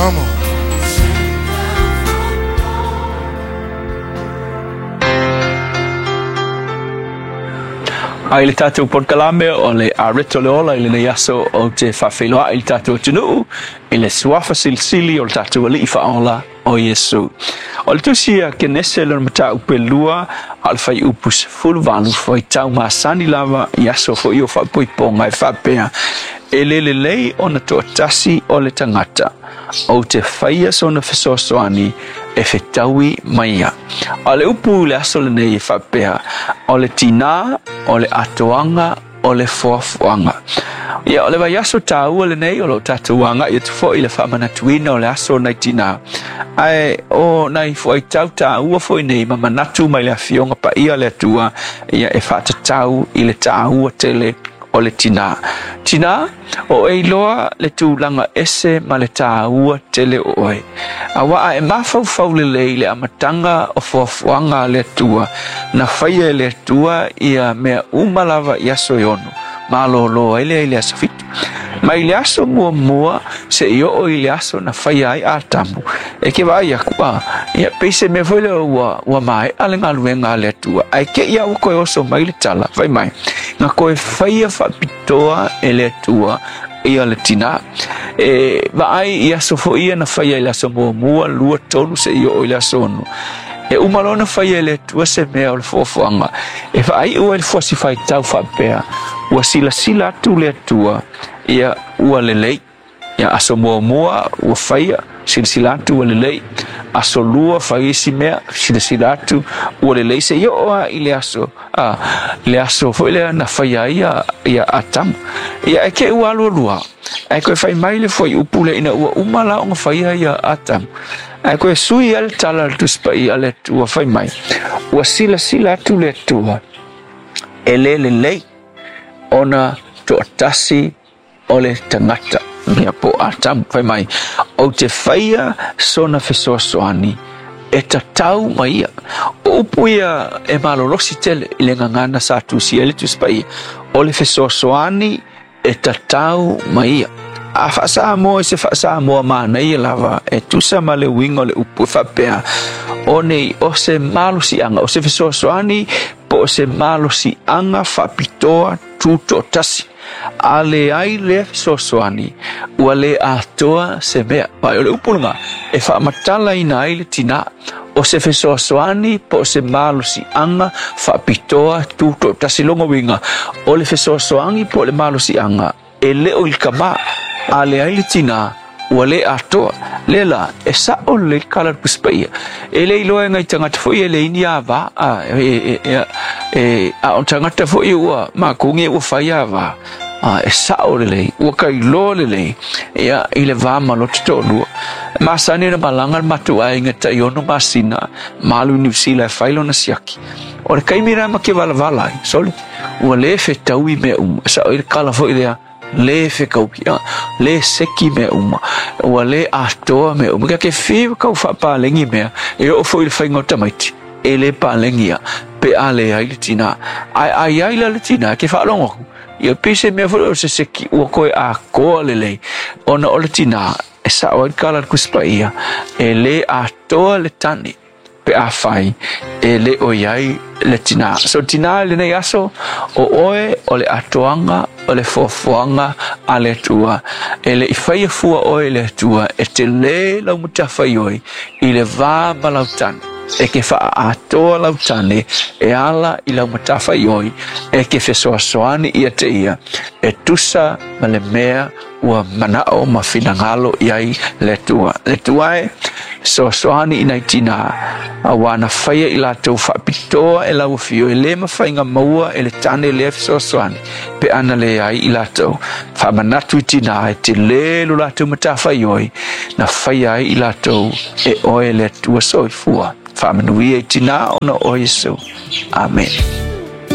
Come on. A i le tatou polokalame o le Areto le Ola i lenei aso ou te faafeiloai i le tatou atunuu i le suafa silisili o le tatou Alii Faaola o Iesu. O le tusi a Kenese lona mataupu e lua a o le fuaiupu 18 fuaitau masani lava i aso foi o faapoipoga e faapea, E le lelei ona toatasi o le tagata, ou te faia sona fesoasoani e fetaui ma ia. A o le upu i le aso lenei e faapea, o le tinā, o le atoaga, o le foafoaga. Ia, o le vaiaso taua lenei o lo o tatou agai atu foi i le faamanatuina o le aso o nai tinā. Ae o nai fuaitau taua foi nei ma manatu mai le Afioga Paia a le Atua, ia e faatatau i le taua tele o le tinā. Tinā, o e iloa le tulaga ese ma le tāua tele o oe. Aua a e mafaufau lelei i le amataga o foafoaga a le Atua, na faia e le Atua ia mea uma lava i aso e ono, malōlō ai lea i le aso fitu. Mai le aso muamua seia oo i le aso na faia ai Atamu, e ke vaai aku, a, ia, pei se mea foi lea ua, ua maea le galuega a le Atua, ae te i lava ua toe oso mai le tala, fai mai, na toe faia faapitoa e le Atua ia le tinā. E vaai i aso foi ia na faia i le aso muamua, lua, tolu, seia oo i le aso ono. E uma loa ona faia e le Atua se mea o le foafoaga, e faaiu ai le fuasi faitau faapea, ua silasila atu le Atua, ia ua lelei. Ia aso muamua ua faia, silasila atu ua lelei. Aso lua fai isi mea, silasila atu ua lelei. Seia oo lava i le aso, a, le aso foi lea na faia ai ia, ia Atamu. Ia e te i ua alualua, ae toe fai mai le fuaiupu lea ina ua uma la ona faia ia Atamu. Ae toe sui ai le tala a le Tusi Paia a le Atua fai mai, ua silasila atu le Atua, e le lelei ona toatasi o le tagata, ia po o Atamu, fai mai, ou te faia sona fesoasoani e tatau ma ia. O upu ia e malolosi tele i le gagana sa tusia ai le Tusi Paia, o le fesoasoani e tatau ma ia. A faa-Samoa i se faa-Samoa manaia lava e tusa ma le uiga o le upu e faapea, o nei o se malosiaga, o se fesoasoani po o se malosiaga faapitoa tutoatasi. A leai lea fesoasoani, ua le atoa se mea. Ae o le upu lena e faamatalaina ai le tinā, o se fesoasoani po o se malosiaga faapitoa tutoatasi. Lona uiga, o le fesoasoani po o le malosiaga e le o i le tama, a leai le tinā, ua le atoa. Lea la, e sao lelei le tala a le Tusi Paia. E le iloa e nai tagata foi e leai ni ava, a, e, e, e, a o tagata foi ua matou nei ua fai ava, a, e sao lelei, ua tailoa lelei, ia, i le va ma lota toalua. E masani ona malaga le matou aiga tai ono masina ma alu i Niu Sila e fai lona siaki. O le taimi la ma te valavala ai, sole, ua le fetaui mea uma. E sao i le tala foi lea, le fetaui, a, le seki mea uma, ua le atoa mea uma. Kia ke fiu kau faapalegi mea, e oo foi i le faiga o tamaiti, e le palegi ia, pe a leai le tinā. Ae a i ai la le tinā, ke faalogo aku, ia pei se mea foi lea o se seki ua toe atoa lelei, ona o le tinā, e sao ai le tala a le Tusi Paia, e le atoa le tane pe afai e le o i ai le tinā. So tinā i lenei aso, o oe o le atoaga o le foafoaga a le Atua. E le i faia fua oe e le Atua e telē lau matafaioi i le va ma lau tane. E ke faaatoa lau tane e ala i lau matafaioi e ke fesoasoani ia te ia e tusa ma le mea ua manao ma finagalo i ai le Atua. Le Atua e, fesoasoani i nai tinā, auā na faia i latou faapitoa e lau afio e le mafai na maua e le tane lea fesoasoani pe ana leai i latou. Faamanatu i tinā e telē lo latou matafaioi na faia ai i latou e oe le Atua soifua. Faamanuia i tinā ona o Iesu. Amene.